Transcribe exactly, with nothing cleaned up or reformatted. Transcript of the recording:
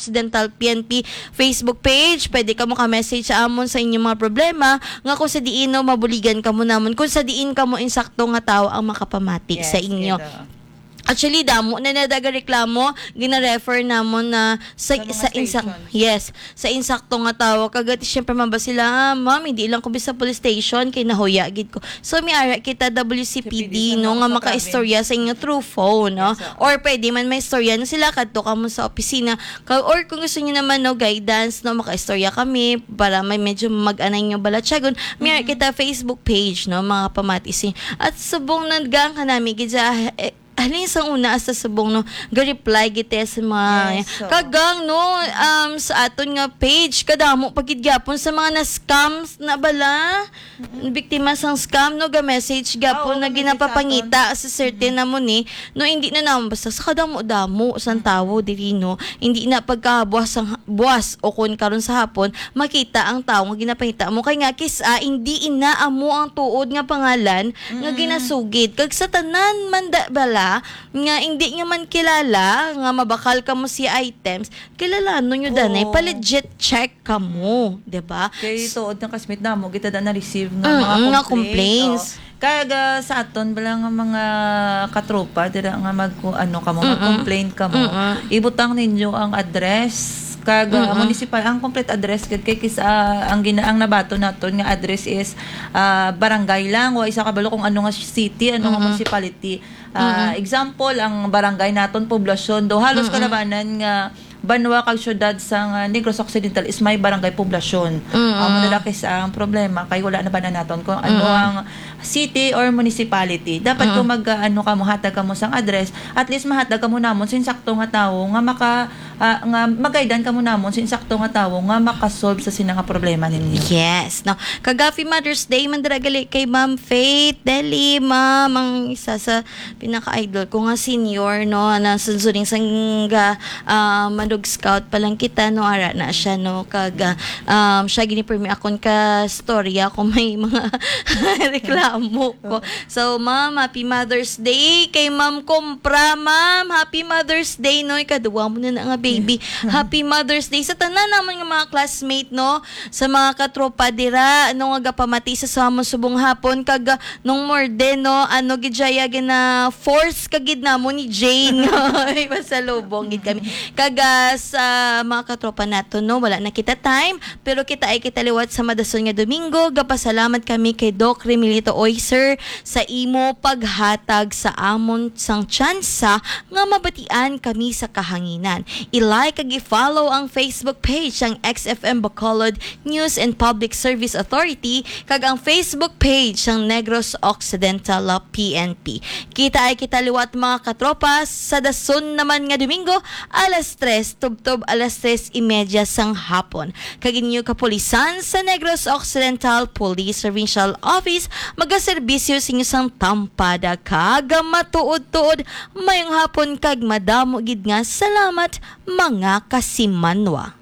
Occidental P N P Facebook page. Pwede kamo ka-message sa amon sa inyong mga problema, nga kung sa diin, no, mabuligan kamo namon, kung sa diin kamo insakto nga tawo ang makapamati sa Yes, inyo. Kaya daw. Actually, damo na nadaga reklamo, gina-refer namon na sa, Sa mga sa insang-, station. Yes, sa insakto nga tawo. Kag, syempre, man ba sila, "Ah, ma'am, hindi lang ko bisa police station, kay nahuya gid ko." So, may ara kita W C P D, C P D sa no, mga nga sa makaistorya sa inyo through phone, no? Yes, oo. Or pwede man may istorya na sila, kadto kamo sa opisina. Ka-, or kung gusto niyo naman, no, guidance, no, makaistorya kami para may medyo mag-anay niyo balatyagon, may ara Mhm. kita Facebook page, no, mga pamati sa inyo. At subong nagdaan ka nami gid sa, eh, halin sa una hasta subong, no, ga-reply gid tayo sa mga Yes, so. Kagang, no, um, sa aton nga page, kadamo pa gid gyapon sa mga na-scam na bala. Mm-mm. Biktima sang scam, no, ga-message gyapon Oo, na ga-message sa ginapapangita aton. Sa certain Mm-mm. namo ni, no, hindi na naman basta sa kadamo-damo sang Mm-mm. tawo diri, no, hindi na pagkabuas sang, buas o kun karon sa hapon, makita ang tawo nga ginapangita mo. Kay nga, kis-a, hindi ina amo ang tuod nga pangalan nga Mm-mm. ginasugid. Kag sa tanan man da, bala, nga hindi nyo man kilala, nga mabakal kamo sa items, kilalanon nyo danay, Oo. pa-legit check kamo, di ba? Kay S- tuod nga kasmit namo, kita da na-receive nga Mm, mga nga complaint, complaints. Oh. Kag, ah, sa aton bala nga mga katropa, dira nga mag-, ano kamo, Mm-mm. mag-complain kamo, Mm-mm. ibutang ninyo ang address, kag, ah, Mm-mm. municipal, ang complete address, kag kay kis-, ah, ang gina-, ang nabaton naton nga address is, ah, barangay lang, wa isa kabalo kung ano nga city, ano nga Mm-mm. municipality. Ah, Mm-mm. example, ang barangay naton, Poblacion. Do halos Mm-mm. kalabanan nga banwa kag syudad sang, ah, Negros Occidental is may barangay Poblacion. Mm-mm. Amo na lang kis-, ang problema kay wala na ba na naton kung ano Mm-mm. ang city or municipality. Dapat Mm-mm. kung mag, ah, ano kamo, hatag kamo sang address, at least mahatag kamo namon sa insakto nga tawo nga maka-, ah, nga magaidan kamo namon sa insakto nga tawo nga makasolve sa sina nga problema ninyo. Yes, no. Kag happy Mother's Day man dira gali kay Ma'am Faith Deli, ma'am, ang isa sa pinaka-idol ko nga senior, no, na sunsuning sang, ah, Manug Scout pa lang kita, no, ara na siya, no, kag, ah, um, siya gini pirmi akon ka storya kung may mga reklamo ko. So, ma'am, happy Mother's Day kay Ma'am Compra, ma'am. Happy Mother's Day, no, ikaduwa mo na na nga baby. Happy Mother's Day sa tanan naman nga mga classmate, no, sa mga katropa dira, ano, nga gapamati sa, sa amon subong hapon, kag, ah, nung more din, no, ano, gid siya, ya, gina-force ka gid namo ni Jane. Ay, pasalubong gid kami. Kag, ah, sa mga katropa nato, no, wala na kita time, pero kita ay kita liwat sa madason nga Domingo. Gapasalamat kami kay Doc Remilito Oy, sir, sa imo paghatag sa amon sang tsansa nga mabatian kami sa kahanginan. I-like kag i-follow ang Facebook page sang X F M Bacolod News and Public Service Authority kag ang Facebook page sang Negros Occidental P N P. Kita ay kita liwat, mga katropa, sa dason naman nga Domingo, alas tres, tubtob alas tres y media sang hapon. Kag inyo kapulisan sa Negros Occidental Police Provincial Office magaserbisyo sa inyo sang tampada kag matuod-tuod. Mayong hapon kag madamo gid nga salamat, mga kasimanwa.